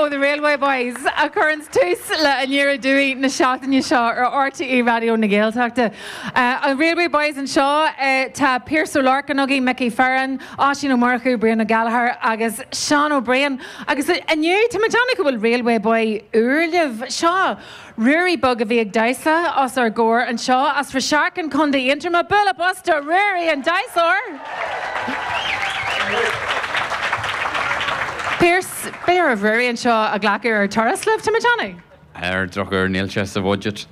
ó The Railway Boys a chuireanns tús le Aniar Aduaidh na seachtaine seo ar RTÉ Raidió na Gaeltachta. An Railway Boys anseo, tá Pearse Ó Lorcáin againn, Mickey Ferrin, Oisín Ó Murchú, Brian Ó Gallchóir agus Seán Ó Briain. Agus inniu, tá mé ag déanamh go bhfuil Railway Boy úr libh. Seo Ruairí beag a bhí ag damhsa os ár gcomhair anseo as Rasharkin, Co. Aontroma. Bualadh bos do Ruairí an damhsóir! Pearse, beidh oraibh Ruairí anseo a ghlacadh ar turas libh, tá mé ag déanamh. Ar an drochuair, níl sé sa bhudget.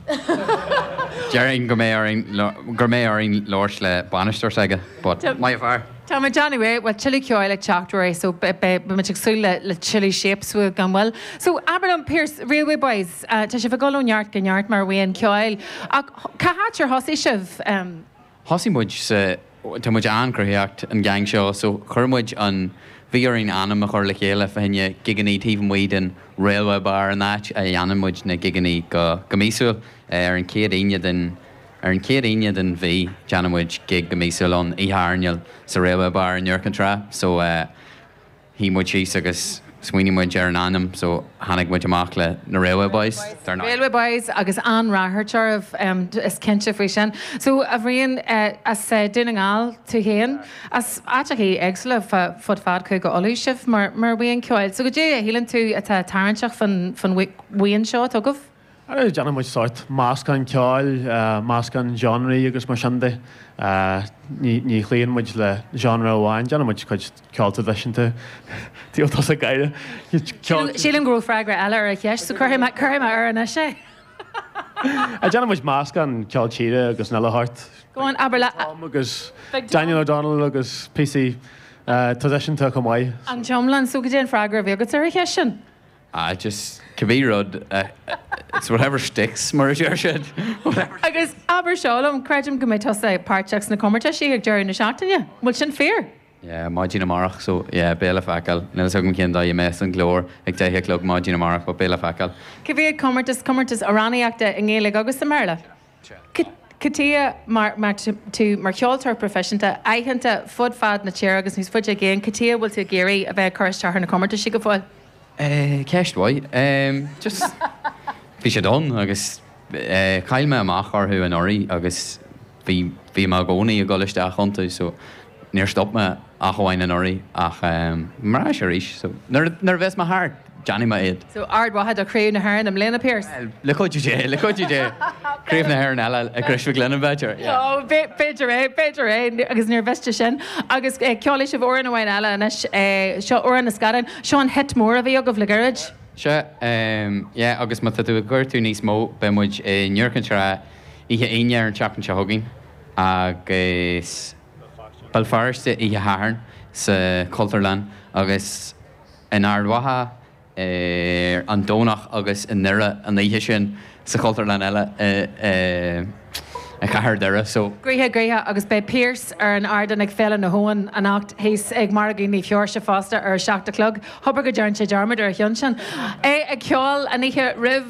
Déarfainn go mbeidh orainn go mbeidh orainn labhairt le bainisteoir s'aige, but maith an fear. Tá mé ag déanamh é. Bhuel, tuilleadh ceoil ag teacht Ruairí, so beidh muid ag súil le tuilleadh Shapes uaibh gan mhoill. So, abair liom, Pearse, Railway Boys, tá sibh ag dul ó neart go neart mar bhuíon ceoil, ach cá háit ar thosaigh sibh? Thosaigh muid sa, tá muid an-chruthaitheach, an gang seo, so chuir muid an, bhí orainn ainm a chur le chéile fá choinne gigeannaí taobh amuigh den Railway Bar, an áit a dhéanann muid na gigeannaí go go míosúil, ar an chéad Aoine den, ar an chéad Aoine den mhí déanann muid gig go míosúil ann, oíche airneáil sa Railway Bar in Iúr Cinn Trá, so eh. Shuigh muid síos agus smaoinigh muid ar an ainm so tháinig muid amach le na Railway Boys, dar ndóigh. Railway Boys agus an-ráchairt oraibh, is cinnte faoi sin. So, a Bhriain, as Dún na nGall tú féin, as áiteachaí éagsúla fud fad Chúige Uladh sibh mar bhuíon ceoil. So, goidé a shíleann tú atá tarraingteach fán bhuíon seo atá agaibh? Déanann muid sórt meascán ceoil, meascán genreí agus mar sin de. Ní chloíonn muid le genre amháin, déanann muid cuid ceol traidisiúnta. Níl tusa ag gáire. Sílim go raibh freagra eile ar an cheist, so cuirfidh mé air anois é. Déanann muid meascán ceol tíre agus an uile shórt. Go on, abair le. Tom agus Daniel O'Donnell agus píosaí traidisiúnta chomh maith. An t-iomlán, so goidé an freagra a bhí agat ar an cheist sin? Ah just cibé rud, it's whatever sticks mar a deir siad. Agus abair seo liom, creidim go mbeidh tusa páirteach sna comórtaisí ag deireadh na seachtaine, an bhfuil sin fíor? Yeah, maidin amárach so yeah, beidh le feiceáil. Níl a fhios agam cén dóigh a mbeas an glór ag 10 a chlog maidin amárach but beidh le feiceáil. Cad é comórtas, comórtas amhránaíochta i nGaeilge agus i mBéarla? Cad chuige mar tú mar cheoltóir proifisiúnta, aitheanta fud fad na tíre agus níos faide i gcéin, cad chuige a bhfuil tú ag iarraidh a bheith ag cur isteach ar na comórtaisí go fóill? Ceist mhaith. Just bhí siad ann agus chaill mé amach orthu anuraidh agus bhí bhí mé i gcónaí ag dul isteach iontu so níor stop mé ach amháin anuraidh ach mar ais arís so nuair nuair a bheas mé thart déanfaidh mé iad. So Ard Mhacha do Chraobh na hÉireann i mbliana, Pearse? Bhuel, le cuidiú Dé, le cuidiú Dé. Craobh na hÉireann eile i gCrois Mhic Lionnain b'fhéidir, yeah. Oh, b'fhéidir é, b'fhéidir é agus níor mhiste sin. Agus ceolfaidh sibh amhrán amháin eile anois, seo Amhrán na Scadán. Seo an hit mór a bhí agaibh le gairid. Sea, yeah, agus má tá tú ag cuartú níos mó, beidh muid i nIúr Cinn Trá oíche Aoine ar an tseachtain seo chugainn agus Béal Feirste oíche Shathairn sa Chultúrlann agus in Ard Mhacha ar an Domhnach agus i nDoire an oíche sin sa Chultúrlann eile i gcathair Dhoire. So. Gnoitheach gnoitheach agus beidh Pearse ar an ardán ag Féile na hAbhann anocht thíos ag Margadh Naomh Sheoirse fosta ar a 7 a chlog. Hobair go dtearn sé dearmad ar a cheann sin. É ag ceol an oíche roimh.